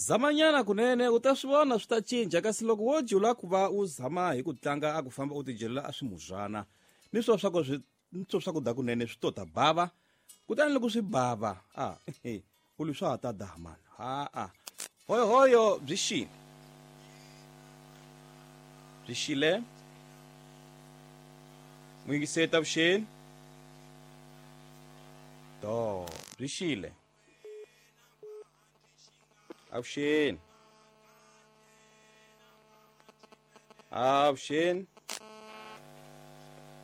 Zamanyana kunene u ta swi vona swi ta cinca, kasi loko wo jula ku va u zama hi ku tlanga a ku famba u tijelela a swimuzwana ni swo swa ku swi ni swo swakudya kunene swi to ta bava. Kutani loko swi bava a u li swa ha ta daha mani ha-a. Hoyohoyo byi xile, byi xile. Muyingiseri ta vuxeni do byi xile. Avuxeni, avuxeni.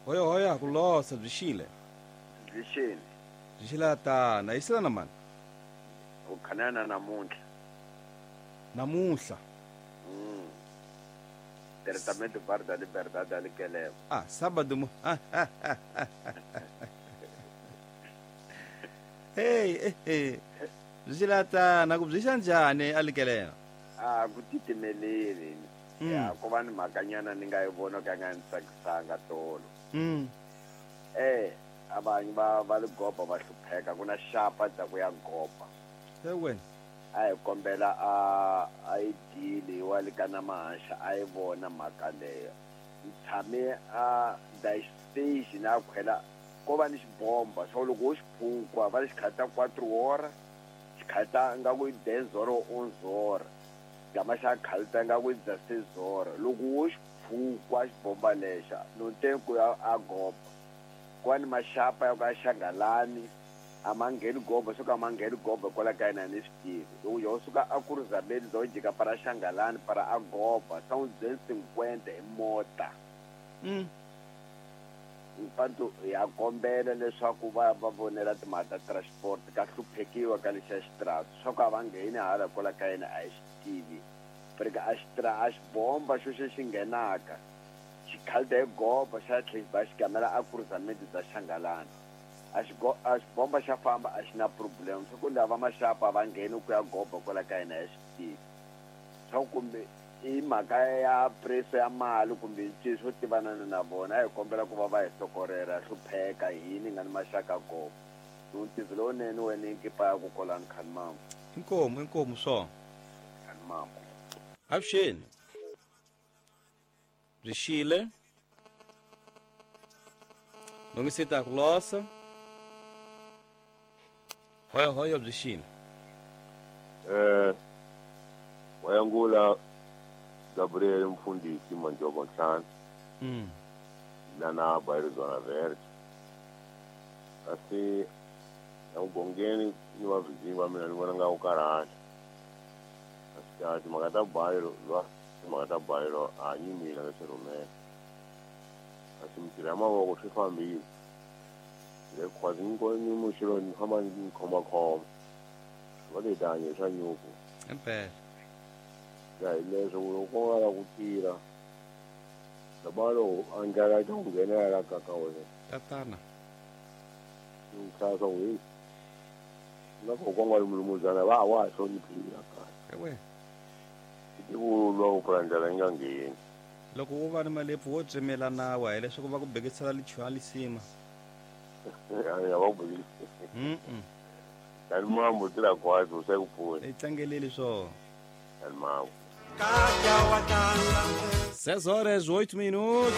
Hoyohoyo ha ku losa byi xile. Byi xile. Byi xile tana yiselana mani. U khanana namuntlha. Namuntlha. Diretamente Bar da Liberdade ali Keleva. Ah, sábado mo. Hey, hey. Byi xile tana ku byi xa njhani a Likelela? A ku titimeleli. Ya ko va ni mhakanyana ni nga yi vona ka nga ni tsakisanga tolo. Avanyi va ligoba va hlupheka ku na xapa dza ku ya goba. He wena. A hi kombela a yi dili wa le ka na mahaxa a yi vona mhaka leyo. Ni tshame a da station a khwela ko va ni xibomba swa loko wo xi phukwa va xi khata 4 hora xi khata nga ku dezoro onzora gama xa khalta nga ku dza sezora loko wo xi phukwa xibomba lexa no te ku ya a goba kwani maxapa ya ku a xangalani a ma ngheni goba swo ka ma ngheni goba kwala ka yena ni swi tivi loko yo suka a ku rizabeni zo jika para xangalani para a goba sa n'wi byeli 50 hi mota. Mpanto ya kombela leswaku va va vonela timhaka ta transport ka hluphekiwa ka lexiya xitrato swa ku a va ngheni hala kwala ka yena a hi swi tivi pereke a xitra a xibomba xo xo xi nghenaka xikhalita hi goba xa tlhe ba xi gamela a kurizamende bya xangalani a a xibomba xa famba a xi na problem swa ku lava maxapa va ngheni ku ya goba kwala ka yena ya swi tivi swa ku kumbe i mhaka ya preso ya mali kumbe ncini swo tivanana na vona a hi kombela ku va va hi sokorela hlupheka hini nga ni maxaka goba ntivi lowunene wena i nkipa ya ku kolani khani mambo. Inkomu, inkomu swo. Khani mambo. Avuxeni. Byi xile. Lungisita ku losa. Hoyohoyo byi xile. Wayangula Gabriel Mfundisi Manjobo Ntlhanu. Lana Bayirizwana Verde. Kasi ya mugongeni ni va vizinyi va mina ni vona nga ku karhala. Kasi timhaka ta bayiro lwa timhaka ta bayiro a nyimile nga swi rhumela. Kasi mintirho ya mavoko swi fambile. Le khwazi ni ko ni muxilo ni famba ni khomakhoma. Va ti tanye swa nyuku. Impela. Ya hi leswo loko u nga la ku tirha. Loko a ndlela ta ku nghenela ka ka wena. Tatana. Nkhasa we. Na ko konga mulumuzana va wa hloniphila kahle. Ewe. Ti ku lwa ku pfula ndlela yi nga ngheni. Loko wo va ni malepfu wo tsemela nawa hileswaku va ku bekisela lichuha lisima. Ya va ku bekisela. Tani mambo tira kwazo u se ku pfuna. I tlangeleli swo. Tani mambo. 6 horas 8 minutos.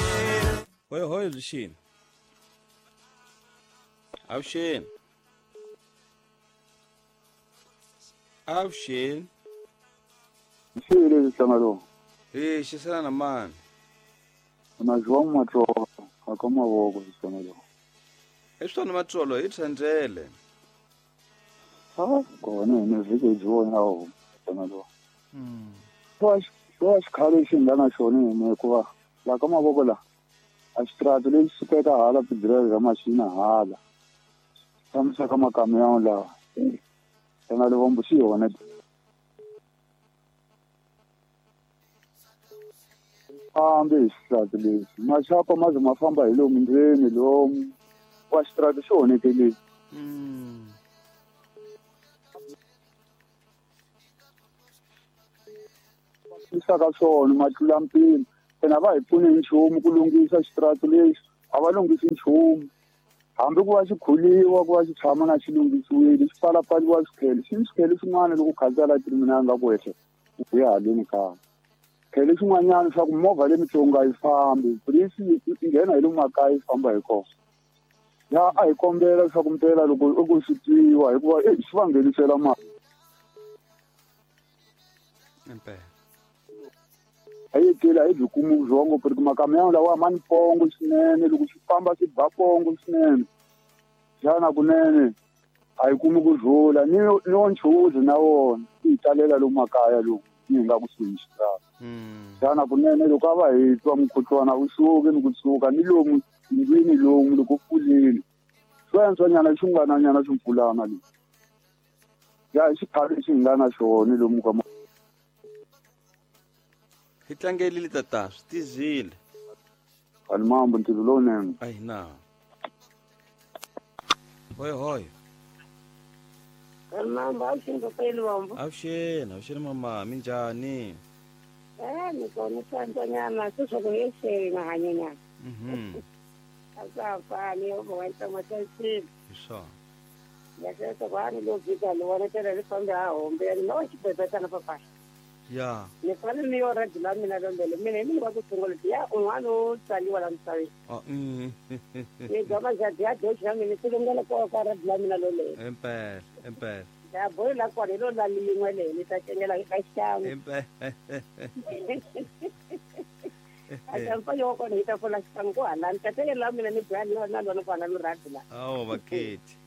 Hoyohoyo byi xini. Avuxeni. Avuxeni. Xile hlangalo. Eh, xisana na mani. Na João Matsolo, aka mavoko hlangalo. I swona Matsolo hi thandlele. Ha, kona ni vhiki byi vona ho hlangalo. Swa xikhale xi nga na xona hi hikuva la ka mavoko la a xitrato lexi sukeka hala tidirayivha machina hala fambisa ka makamiyon lawa hlangalo vombo xi yona fambi hi xitrato lexi maxapa ma ze ma famba hi lomu ndzeni lomu wa xitrato xi onhekelile. Ka swona ma tlula mpimo ene a va hi pfuni hi nchumu ku lunghisa xitrato lexi a va lunghisi nchumu. Hambi ku va xi khuliwa ku va xi tshama na xi lunghisiwile xi pfalapfaliwa swikhele xi ni swikhele swin'wana loko khansela terminal nga ku ehle u ya haleni kaya khele xin'wanyana swa ku movha le mitsongo a yi fambi polisi yi nghena hi lomu makaya yi famba hi kona ya a hi kombela leswaku mpela loko i ku swi twiwa hikuva e swi va nghenisela mali impela a yi tleli a yi byi kumi vurhongo ku ri makamiyawu lawa ma ni pongo swinene loko swi famba swi ba pongo swinene xana kunene a yi kumi ku rhula ni wo nchuzi na wona yi hi talela lomu makaya lowu ni hi nga kusuhi ni xikarhi xana kunene loko a va hi twa mukhuhlwana wu suki ni kusuka ni lomu ndlwini lomu loko pfulile swi antswanyana xin'wananyana swimpfulana leswi ya hi xiphalo lexi hi nga na xona lomu ka hi tlangelile tata swi tizile ani mambo ntirho lowunene a hi na hoy hoy Mambo avuxeni papa Luvambo. Avuxeni, avuxeni mama, minjhani? Ni kona swantswanyana sweswo ku yexeni mahanyanyana. A swa ha fani yo va ntsongo xexini. Hi swona. Ya sweswo ku a ni lo fika ni vona tela ni fambe ha hombe ni no xibebetana papa. Ya. Ni fanele ni yo radi la mina lombele mina hi mina va ku tshungula ya un'wana u tsaliwa la misaveni. Oh. Ni bya majadi ya doxi ya mina swi lungela ko ka radi la mina lolelo. Impela, impela. Ya boyi la kona hi lo la liyin'we leyi ni ta cengela ka xikan'we. Impela. A yo kona hi ta fola xikan'we ku halani ta tengela la mina ni boya na lona ku hala lo radi la. Awu baketi.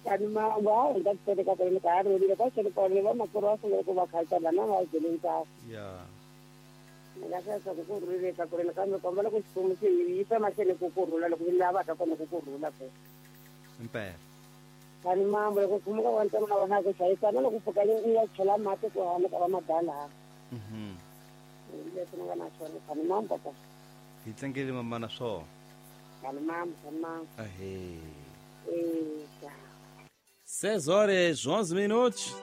Kani ma wa hi ta teka ka ni ka ri ka xi kona va makuru va sungula ku va khalisa na va byele ntsako. Ya. Ni nga sweswo ku kurhule ka ku ri kambe kombela ku xifumo xi yisa mahlweni ku kurhula loko mi lavaka kona ku kurhula ku. Impela. Kani mambo loko pfumuka wa ntsongo na vona ku hlayisana loko pfuka ni ya chela mati ku hana ka va madala. Leswi ni nga na swona kani mambo ta. Hi tlangele mama na swona. Kani mambo, kani mambo. Ahee. Eh. 6 horas 11 minutos.